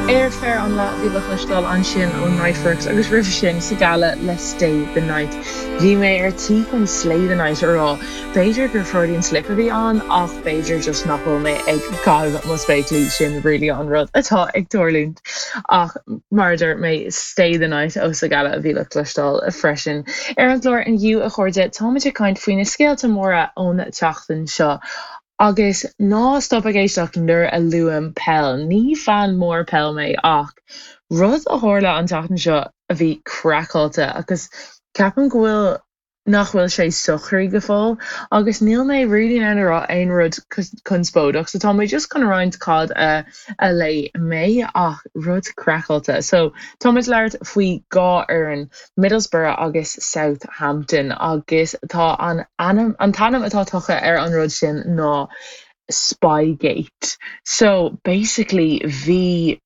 Airfare an Lá a bhí le cloisteáil ansin ó Niteworks agus roimhe sin Sigala le Stay the Night. Bhí mé ar tí chun Slay the Night a rá. B'fhéidir gur Freudian slip a bhí ann ach b'fhéidir just nach bhfuil mé ag caitheamh mo spéaclaí, sin really an rud atá ag tarlúint. Ach mar a dúirt mé, Stay the Night ó Sigala a bhí le cloisteáil freisin. Ar an gclár inniu, a chairde, táimid ag caint faoi na scéalta móra ón tseachtain seo. Agus ná stop ag éisteacht nuair a luaim peil, ní fan mór peil mé ach rud a tharla an tseachtain seo a bhí craiceáilte agus ceapaim go bhfuil nach bhfuil sé socraithe go fóill agus níl mé really in ann a rá aon rud conspóideach so tá mé just chun roinnt cad a a léigh mé ach rud craiceáilte. So tá muid ag labhairt faoi dhá fhoireann, Middlesbrough agus Southampton agus tá an ainm an t-ainm atá tugtha ar an rud sin ná Spygate. So basically bhí.